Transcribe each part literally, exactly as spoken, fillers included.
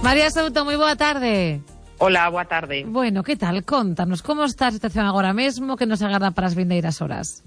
María Souto, moi boa tarde. Hola, boa tarde. Bueno, que tal? Contanos, como está a situación agora mesmo, que nos agarda para as vindeiras horas?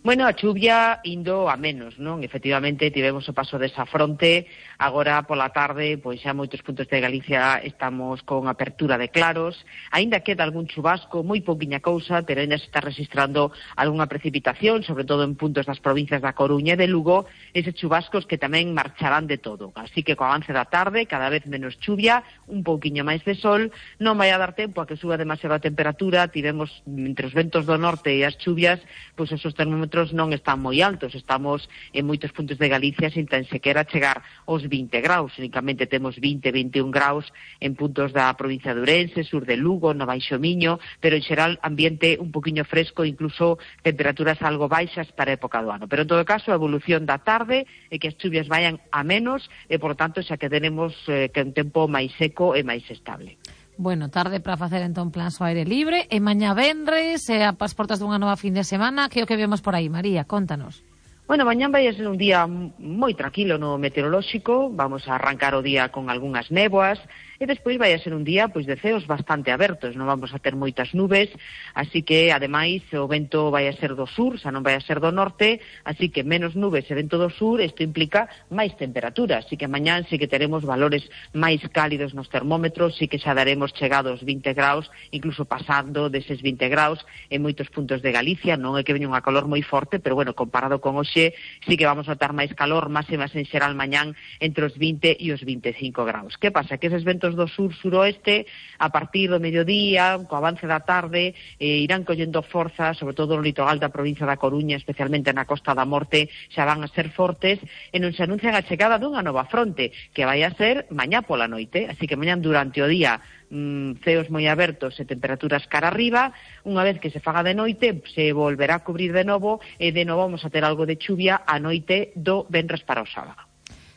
Bueno, a chuvia indo a menos, non? Efectivamente, tivemos o paso desa fronte, agora pola tarde, pois xa moitos puntos de Galicia estamos con apertura de claros, aínda queda algún chubasco, moi pouquiña cousa, pero aínda se está registrando algunha precipitación, sobre todo en puntos das provincias da Coruña e de Lugo, eses chubascos que tamén marcharán de todo. Así que co avance da tarde, cada vez menos chuvia, un pouquiño máis de sol, non vai a dar tempo a que suba demasiado a temperatura, tivemos entre os ventos do norte e as chuvias, pois esos termómetros non están moi altos, estamos en moitos puntos de Galicia sin tan sequera chegar aos vinte graus, únicamente temos vinte, veintiún graus en puntos da provincia de Ourense, sur de Lugo, no Baixo Miño, pero en xeral ambiente un poquinho fresco, incluso temperaturas algo baixas para a época do ano. Pero en todo caso, a evolución da tarde é que as chuvias vayan a menos e, por tanto, xa que tenemos eh, que un tempo máis seco e máis estable. Bueno, tarde para facer entón plans ao aire libre e mañá venres e a as portas dunha nova fin de semana, que é o que vemos por aí, María, contanos. Bueno, mañán vai a ser un día moi tranquilo no meteorolóxico, vamos a arrancar o día con algunhas néboas, e despois vai a ser un día pois de ceos bastante abertos, non vamos a ter moitas nubes, así que, ademais, o vento vai a ser do sur, xa non vai a ser do norte, así que menos nubes e vento do sur, isto implica máis temperatura, así que mañán sí que teremos valores máis cálidos nos termómetros, sí que xa daremos chegados vinte graus, incluso pasando deses vinte graus en moitos puntos de Galicia, non é que veña unha calor moi forte, pero, bueno, comparado con hoxe, sí que vamos a notar máis calor, máximas en xeral mañán entre os vinte e os veinticinco graus. Que pasa? Que eses ventos do sur-suroeste, a partir do mediodía, co avance da tarde, eh, irán collendo forza, sobre todo no litoral da provincia da Coruña, especialmente na Costa da Morte, xa van a ser fortes, e non se anuncian a chegada dunha nova fronte, que vai a ser mañá pola noite, así que mañán durante o día, mm, ceos moi abertos e temperaturas cara arriba, unha vez que se faga de noite, se volverá a cubrir de novo, e de novo vamos a ter algo de chuvia a noite do venres para o sábado.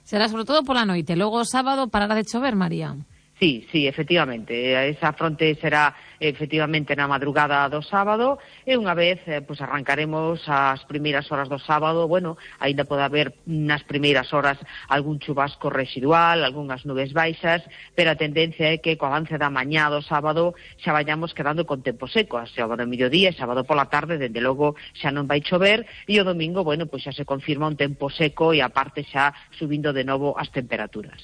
Será sobre todo pola noite, logo o sábado parará de chover, María. Sí, sí, efectivamente, esa fronte será efectivamente na madrugada do sábado e unha vez eh, pues arrancaremos as primeiras horas do sábado, bueno, aínda pode haber nas primeiras horas algún chubasco residual, algunhas nubes baixas, pero a tendencia é que co avance da mañá do sábado xa vayamos quedando con tempo seco, a sábado ao mediodía e sábado pola tarde, dende logo xa non vai chover, e o domingo, bueno, pues xa se confirma un tempo seco e aparte xa subindo de novo as temperaturas.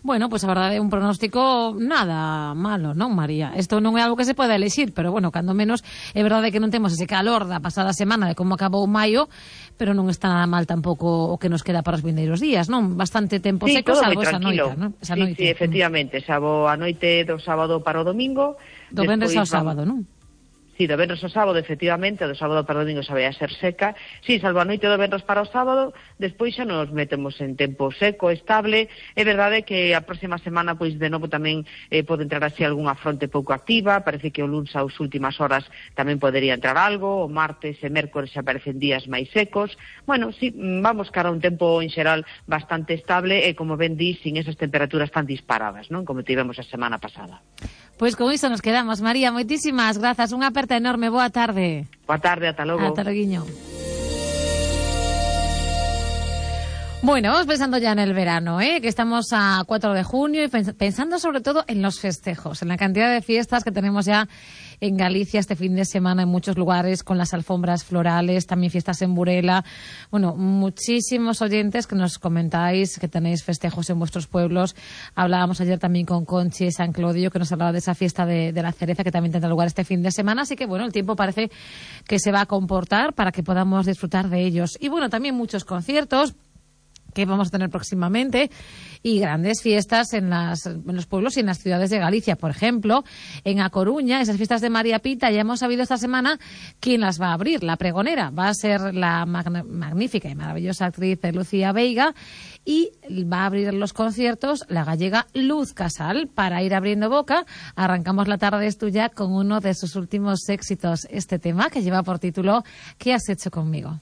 Bueno, pois pues a verdade é un pronóstico nada malo, non, María? Isto non é algo que se pode elixir, pero bueno, cando menos é verdade que non temos ese calor da pasada semana de como acabou maio, pero non está nada mal tampouco o que nos queda para os vindeiros días, non? Bastante tempo sí, seco, salvo esa noite, non? Esa sí, noite. sí, efectivamente, salvo a noite do sábado para o domingo. Do venres ao sábado, non? Sí, do venres ao sábado, efectivamente, do sábado para o domingo xa vai a ser seca. Sí, salvo a noite do venres para o sábado, despois xa nos metemos en tempo seco, estable. É verdade que a próxima semana, pois, de novo tamén eh, pode entrar así algunha fronte pouco activa. Parece que o luns ás últimas horas tamén podería entrar algo. O martes e mércores xa aparecen días máis secos. Bueno, sí, vamos cara a un tempo en xeral bastante estable e, como ben di, sin esas temperaturas tan disparadas, non? Como tivemos a semana pasada. Pois con iso nos quedamos, María. Moitísimas grazas. Unha aperta enorme. Boa tarde. Boa tarde, ata logo. Ata loguiño. Bueno, vamos pensando ya en el verano, ¿eh? Que estamos a cuatro de junio y pensando sobre todo en los festejos, en la cantidad de fiestas que tenemos ya en Galicia este fin de semana en muchos lugares, con las alfombras florales, también fiestas en Burela. Bueno, muchísimos oyentes que nos comentáis que tenéis festejos en vuestros pueblos. Hablábamos ayer también con Conchi de San Clodio, que nos hablaba de esa fiesta de, de la cereza que también tendrá lugar este fin de semana. Así que, bueno, el tiempo parece que se va a comportar para que podamos disfrutar de ellos. Y, bueno, también muchos conciertos que vamos a tener próximamente y grandes fiestas en, las, en los pueblos y en las ciudades de Galicia. Por ejemplo, en A Coruña, esas fiestas de María Pita, ya hemos sabido esta semana quién las va a abrir. La pregonera va a ser la mag- magnífica y maravillosa actriz Lucía Veiga, y va a abrir los conciertos la gallega Luz Casal. Para ir abriendo boca, arrancamos la tarde de Estuya con uno de sus últimos éxitos, este tema que lleva por título ¿Qué has hecho conmigo?